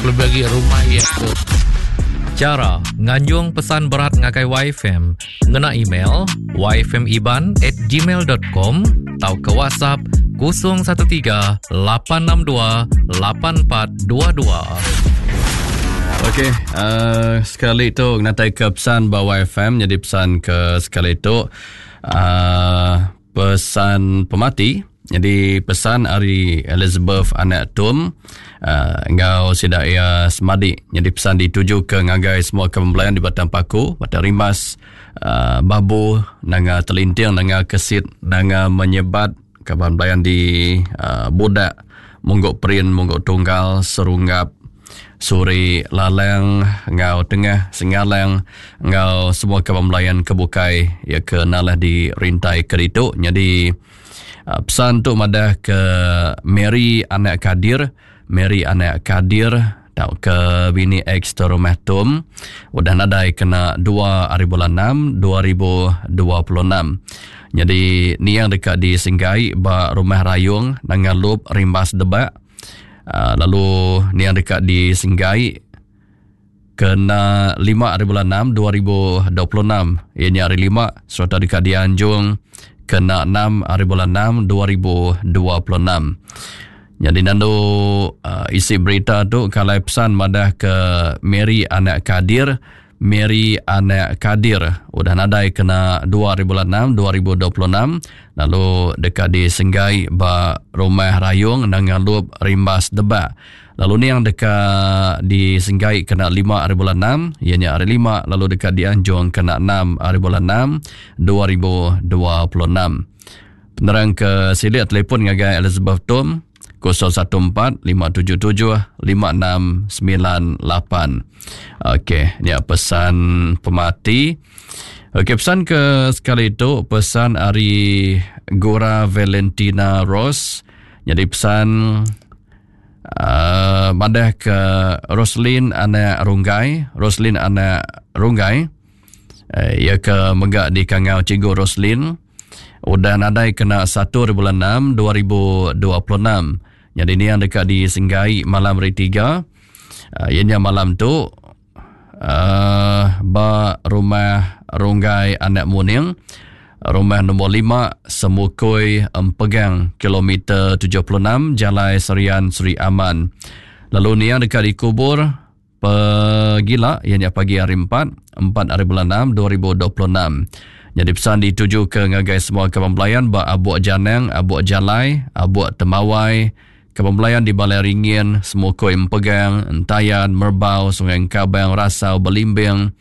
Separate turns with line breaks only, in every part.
Kelebih agi rumah iya tu.
Chara nganjung pesan berat ngagai YFM ngena email yfmiban at gmail dot com tauka WhatsApp 013 862 8422.
Okey, uh, sekali tu ngatai ke pesan ba YFM jadi pesan ke sekali tu uh, pesan pemati Nyadi pesan ari Elizabeth anak Tum uh, enggau sida iya semadi. Nyadi pesan ditujuka ngagai semua kaban belayan di Batang Paku, Batang Rimbas, uh, Babu, Nanga Telinting, Nanga Kesit, Nanga Menyebat, kaban belayan di uh, Budak, Mungguk Perin, Mungguk Tunggal, Serunggap, Suri Lalang enggau Tengah Sengalang enggau semua kaban belayan ke bukai iya ke nalah di rintai ke ditu. Nyadi uh, pesan tu madah ke Mary anak Kadir, Mary anak Kadir tauka bini ex rumah Tom udah nadai kena 2 hari bulan 6 2026. Nyadi niang deka disenggai ba rumah Rayong Nanga Lup Rimbas Debak Ah, lalu niang deka disenggai kena 5 hari bulan 6 2026 iya nya hari 5 sereta deka dianjung kena 6 hari bulan 6 2026. Nyadi nandu uh, isi berita tu kalai pesan madah ke Mary anak Kadir Mary anak Kadir udah nadai kena 2 hari bulan 6 2026 lalu deka disenggai ba Rumah Rayong Nanga Lup Rimbas Debak. Lalu niang deka disenggai kena 5 hari bulan 6 iya nya hari 5 lalu deka dianjung kena 6 hari bulan 6 2026. Penerang ke silik telefon ngagai Elizabeth Tom 014 577 5698. Okey, nya pesan pemati. Okey, pesan ke sekali itu pesan ari Gura Valentina Rose. Jadi pesan uh, madah ke Roslin anak Runggai, Roslin anak Runggai. Uh, ia ke mega di Kangau Cikgu Roslin. Udah nadai kena satu hari bulan 6 2026. Nyadi niang deka disenggai malam hari tiga. Uh, iya nya malam tu uh, ba rumah Runggai Anak Muning rumah nombor 5 Semukoi Empegang kilometer 76 Jalai Serian Seri Aman. Lalu niang deka dikubur Pegila iya nya pagi hari 4, 4 hari bulan 6 2026. Nyadi pesan dituju ke ngagai semua kaban belayan ba Abuk Janang, Abuk Jalai, Abuk Temawai, kaban belayan di Balai Ringin, Semukoi Empegang, Entayan, Merbau, Sungai Engkabang, Rasau, Belimbing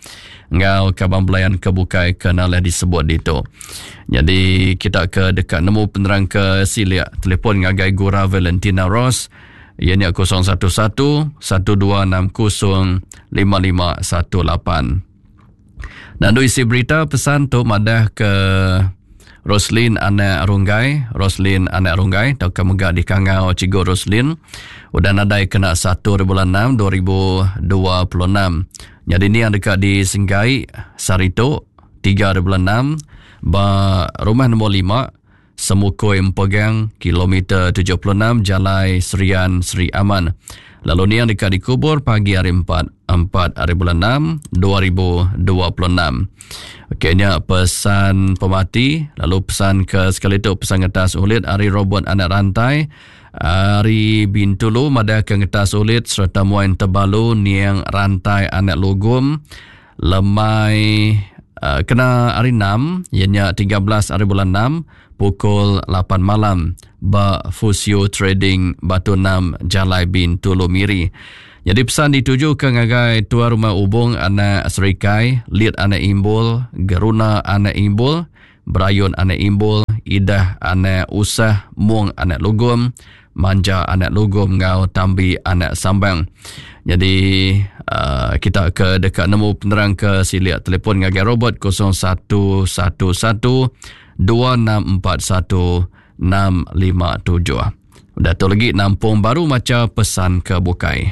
enggau kaban belayan ke bukai ke nalih disebut ditu. Nyadi kita ke deka nemu penerang ke silik telefon ngagai Gura Valentina Ross iya nya 011 1260 5518. Nandu isi berita pesan tu madah ke Roslin anak Runggai, Roslin anak Runggai tauka mega dikangau Cikgu Roslin udah nadai kena 1 bulan 6 2026. Nyadi ni yang deka disenggai sehari tu 3 bulan 6 ba rumah nombor 5 Semukoi Empegang, kilometer 76 Jalai Serian Sri Aman. Lalu niang deka dikubur pagi hari 4, 4 hari bulan 6, 2026. Okey, nya pesan pemati. Lalu pesan ke sekali tu pesan ngetas ulit ari Robert Anak Rantai ari Bintulu madah ke ngetas ulit sereta muai tebalu niang Rantai Anak Lugum Lemai uh, kena hari 6 iya nya 13 hari bulan 6 pukul 8 malam ba Fusio Trading Batu 6 Jalai Bintulu Miri. Jadi pesan dituju ke ngagai tuan rumah Ubung anak Serikai, Lit anak Imbul, Geruna anak Imbul, Berayun anak Imbul, Idah anak Usah, Mung anak Lugum, Manja anak Lugum enggau Tambi anak Sambang. Jadi uh, kita ke deka nemu penerang ke silik telefon ngagai Robert 0111 2641 657. Udah tu lagi nampung baru macha pesan ke bukai.